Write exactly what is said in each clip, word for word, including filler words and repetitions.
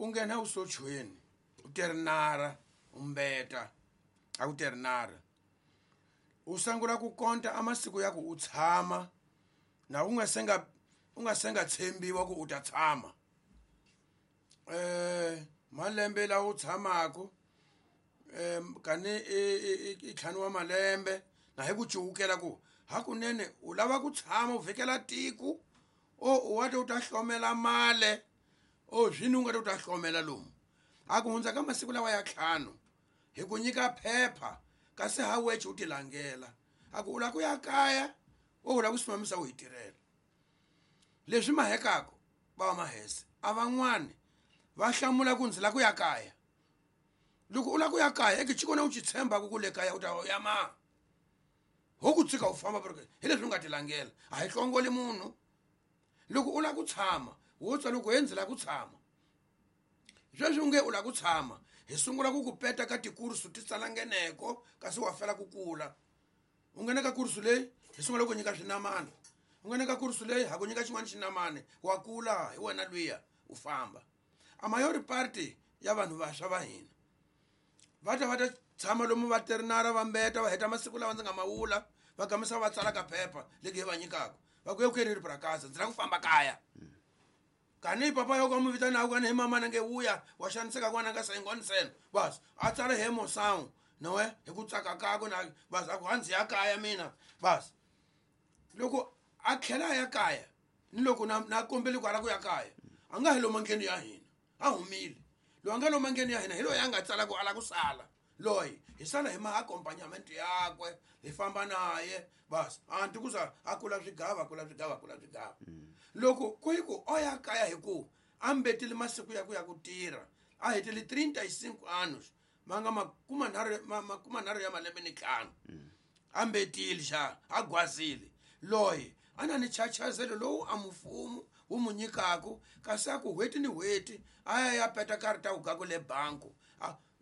u nghena usochweni u terinara umbeta a ku terinara u sungula ku konta amasiku ya ku u tshama na u nga senga u nga senga tshembiwa ku u ta tshama eh malembe la u tshamako em kani i ntlhanu wa malembe na hi ku cuwukela ku hakunene u lava ku tshama u vhikela tiko o u wa ta u ta hlomela male o zwini u nga ta u ta hlomela lomu a ku hundza ka masiku lawa ya ntlhanu hi ku nyika phepha kasi ha weche u tilangela a ku u lava ku ya kaya o u lava ku simamisa u hi tirhela leswi mahekako va va mahese a van'wani va hlamula ku ndzi lava ku ya kaya loko u lava ku ya kaya eke xikona u xi tshembaka ku le kaya u ta ya ma ho ku tshika u famba porque hi leswi u nga tilangela a hi hlongoli munhu loko u lava ku tshama wo tswa loko he ndzi lava ku tshama sweswi u nge u lava ku tshama hi sungula ku ku peta ka tikursu ti tsalangeneko kasi wa fela ku kula u nghena ka kursu leyi hi sungula ku nyika swinamana u nghena ka kursu leyi ha ku nyika xin'wana xinamane wa kula hi wena luya u famba a mayori party ya vanhu vantshwa va hina va ta va ta tshama lomu va terinara va mbeta va heta masiku lawa ndzi nga mawula va gamisa va tsala ka phepha legi hi va nyikaka va ku eu quero ir para casa ndzi lava ku famba kaya kani papa yo ka mu vitana kani hi mama nange wuya wa xaniseka n'wana nga sayingonisena bas a tsala hi emoção noe hi ku tsaka kakwe na bas a ku a ndzi ya kaya mina bas loko a tlhela a ya kaya ni loko na na kombeli ku ala ku ya kaya a nga hi lomu ndleni ya hina a humile loyi a nga lomu ndleni ya hina hi loyi a nga tsala ku ala ku sala loyi hi sala hi ma accompagnamento yakwe hi famba naye bas a nti ku za a kula swigava a kula swigava a kula swigava loko ku hi ku o ya kaya hi ku a mbetile masiku ya ku ya ku tirha a hetile trinta e cinco anos ma nga makumanharhu makumanharhu ya malembe ni ntlhanu a mbetile xa a gwazile loyi a na ni chachazelo lowu a mfumo wu mu nyikaku kasi a ku n'hweti ni n'hweti a ya ya peta karhi ta ku le banku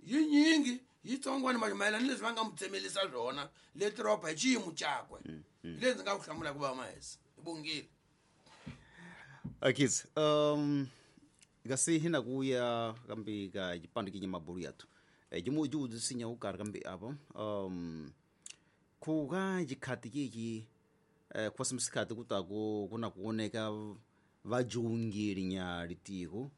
yinyingi yitsongwana mayelana ni leswi va nga mu tsemelisa swona le tropa hi xiyimo xakwe hi leswi ndzi nga ku hlamula ku va mahese hi bongile Akiz um kasi hina kuya kambe ka xipano kinye mabulu yathu jimu jiwudzisinya ukarhi kambe apa um ku ka xikhati kiki eh kwasi msikati kutaku kuna kuoneka vajungiri nya litiko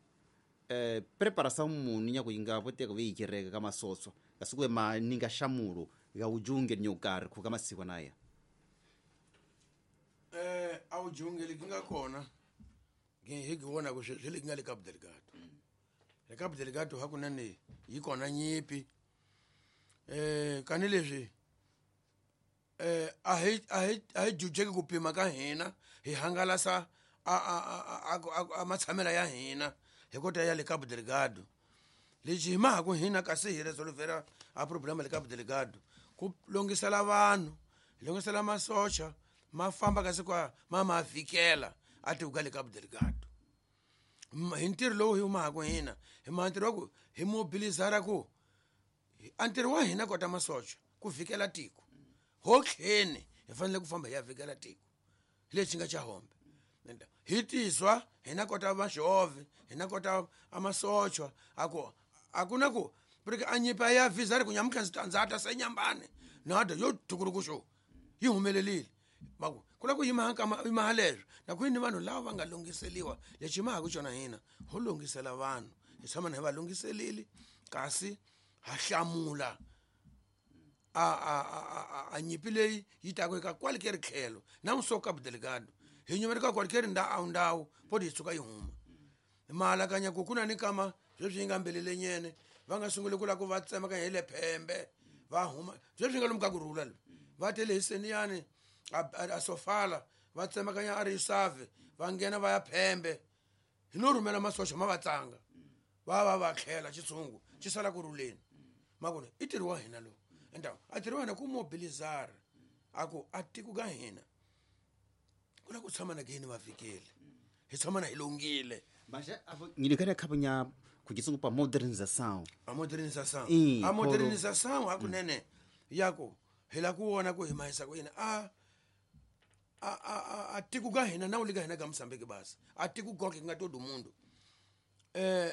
eh preparação muni nya kuinga poteka veyikereka ka masoso kasi kwe maninga xamulo ya ujungeli nyukarhi ku ka masiku naya eh a ujungeli ki nga kona hi ki vona ku swi le nga le Cabo Delgado le Cabo Delgado hakunene yi kona nyipi eh kani leswi eh a hi a hi a hi jujeki ku pima ka hina hi hangalasa a a a a matshamela ya hina hi kota ya le Cabo Delgado lexi hi maha ku hina kasi hi resolvera a problema le Cabo Delgado ku longisela vanhu hi longisela masocha ma famba kasi kwa ma ma fikela a ti ka le Cabo Delgado hi ntirho lowu hi humaka hina hi ma ntirho wa ku hi mobilizara ku a ntirho wa hina kota masocha ku vikela tiko ho tlheni hi fanele ku famba hi ya vikela tiko hi lexi nga xa hombe hi tizwa hina kota vaxove hina kota amasochwa a ku a ku na ku porque a nyipa ya visa ri ku nyamutlha ndzi ta ndza ta se nyambane nada yo tukurukuxo yi humelelile va ku ku lava ku yima ka yima leswo na ku yini vanhu lava va nga lunghiseliwa lexi ma ha ku xona hina ho lunghisela vanhu hi tshama na hi va lunghiselile kasi ha hlamula a a a a nyipi leyi yi taka eka kwale ke ri tlhelo na muso Cabo Delgado hi nyumeri ka kwale ke ri ndhawu ndhawu poti yi tshuka yi huma maalakanya ku ku na ni kama sweswi yi nga mbelele nyene va nga sunguli ku lava ku va tsemakanya hi le phembe va huma sweswi nga lomu ka ku rhula loyi va tele hi seniyani a sofala va tsemakanya a ri save va nghena va ya phembe hi no rhumela masocha ma va tsanga va va va tlhela xitshungu xi sala ku rhuleni makona i ntirho wa hina lowu enda a ntirho wa hina ku mobilizara a ku a tiko ka hina ku la ku tshama na kini va fikile hi tshama na hi lungile Mas ngilekela khabunya kujisungu pa modernização a modernização a modernização hakunene yako hi la ku vona ku hi mahisa ku yini a a a a tiko ka hina na wu le ka hina ka Mozambique basi a tiko konke ku nga todo mundo eh